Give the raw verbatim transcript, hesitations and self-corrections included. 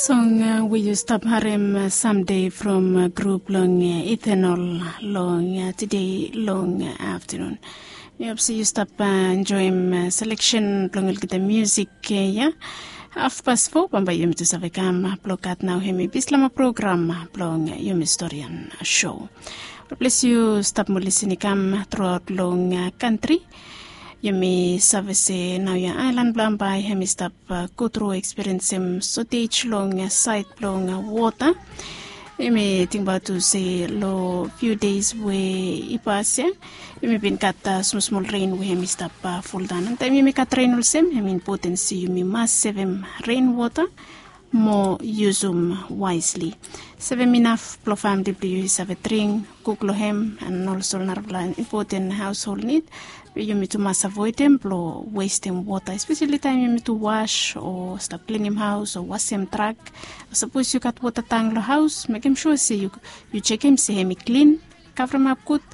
Song we yu stap harim samde from grup long Ethanol long tide long aftanun. Mi hop se yu stap enjoim seleksen blong olgeta musik ya. Hafpas fo bambae yumi tu save kam blong gat nao hemi bislama program blong yumi storian show. Ples yu stap mo lisin i kam truaot long kantri. Yumi save se nao ya aelan blong bambae hemi stap go tru ekspiriensim sotej long saed blong wota. Yumi tingbaot tu se long fiu deis we i pas ya yumi bin gat smol smol ren we hemi stap foldaon. Taem yumi gat ren olsem hemi impoten se yumi mas sevem ren wota mo yusum waesli. Sevem inaf blong famili blong yu i save dring, kuk long hem, an olsem narafala impoten haoshol nid. Be yumi tu mas avoedem blong westem wota, espeseli taem yumi tu was o stap klinim haos o wasem trak. Sapos yu gat wota tang long haos, mekem sua se yu jekem se hemi klin, kavremap gud.